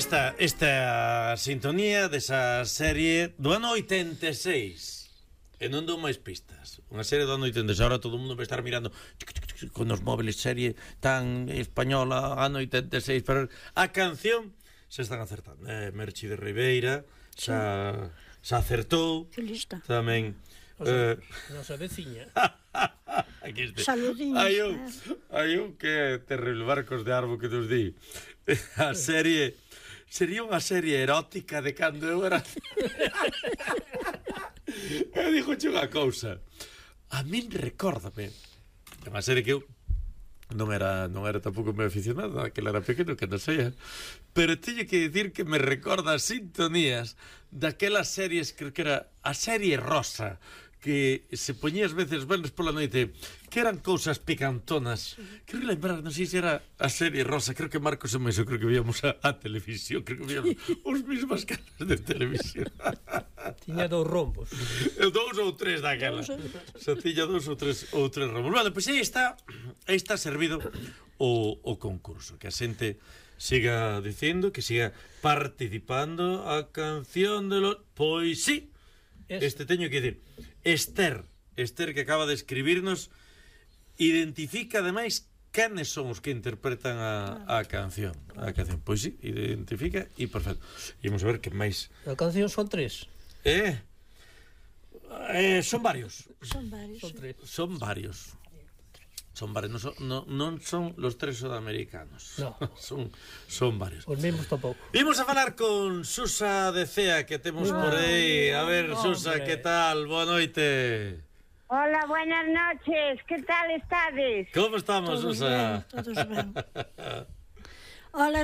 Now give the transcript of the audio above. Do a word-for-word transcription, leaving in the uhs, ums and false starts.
Esta, esta sintonía desa serie do ano oitenta e seis. E non dou máis pistas. Unha serie do ano oitenta e seis. Ahora todo o mundo vai estar mirando con os móviles, serie tan española, ano oitenta e seis. Pero a canción se están acertando. Eh, Merchi de Ribeira xa, xa acertou. Filista. Tamén O sea, eh, nosa veciña. Aquí este. Saludiños. Hai un, hai un que é terrible, Barcos de Arbo, que nos di. A serie sería unha serie erótica de cando eu era. Eu dixo unha cousa. A min recórdame. É unha serie que eu non era, non era tampouco moi aficionado, que era pequeno, que non sei, pero teño que dicir que me recorda as sintonías daquelas series, creo que era a serie Rosa, que se poñías veces venres pola noite, que eran cousas picantonas. Creo lembrar, non sei se era a serie Rosa, creo que Marcos e Maiso, creo que víamos a, a televisión, creo que víamos os mismas caras de televisión. Tiña dous rombos. Dous ou tres daquela. Se tiña dous ou tres ou tres rombos. Vale, pois aí está, aí está servido o, o concurso, que a xente siga dicindo, que siga participando a canción de los... Pois sí, este teño que dicir, Esther, Esther que acaba de escribirnos, identifica ademais canes son os que interpretan a, a canción. A canción, pois sí, identifica e perfecto. Imos a ver que máis. A canción son tres. Eh, eh son varios. Son varios. Son tres. Son varios. Son varios, non son, no, non son los tres sudamericanos. No. son, son varios. Os mesmos tampouco. Imos a falar con Susa de Cea, que temos por aí. A ver, Hombre. Susa, que tal? Boa noite. Hola, buenas noches. ¿Qué tal estades? Como estamos, Todos Susa? ben, todos ben. Hola,